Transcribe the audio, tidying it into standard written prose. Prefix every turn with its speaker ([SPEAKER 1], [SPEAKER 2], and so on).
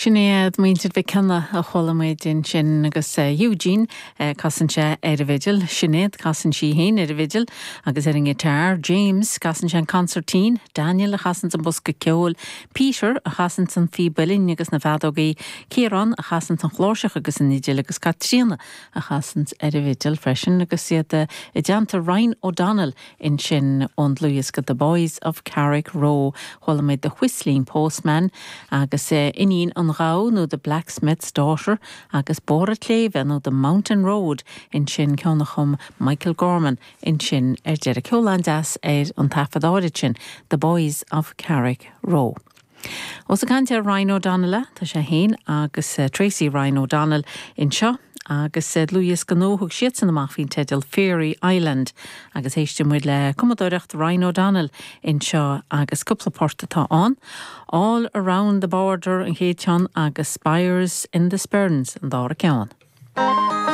[SPEAKER 1] Sin iad muintir Mhic Cionnaith a chuala muid ansin agus Eugene, casann sé ar an bhfidil, Sinéad, casann sí féin ar an bhfidil agus ar an ngiotár, James, casann sé an consairtín, Daniel a chasanns an bosca ceoil, Peter a chasanns an phíb uilleann agus na feadógaí, Ciarán a chasanns an chláirseach agus an fhidil agus Caitríona a chasanns ar an bhfidil freisin agus iad i dteannta Ryan O'Donnell ansin ón dlúthdhiosca The Boys of Carrickroe. Chuala muid The Whistling Postman agus Iníon an Ghabha nó The Blacksmith's Daughter agus Bóthar an tSléibhe nó The Mountain Road ansin, ceann a chum Michael Gorman ansin ar deireadh. Ceol an-deas ar an taifead áirid sin, The Boys of Carrickroe. Ós ag caint ar Ryan O'Donnell, tá sé féin agus Tracey Ryan O'Donnell anseo agus dlúthdhiosca nua a thug siadsan amach faoin teideal Fairy Island agus éistfidh muid le cumadóireacht Ryan O'Donnell anseo agus cúpla port atá ann, All Around the Border an chéad cheann agus Spires in the Sperrins an dara ceann.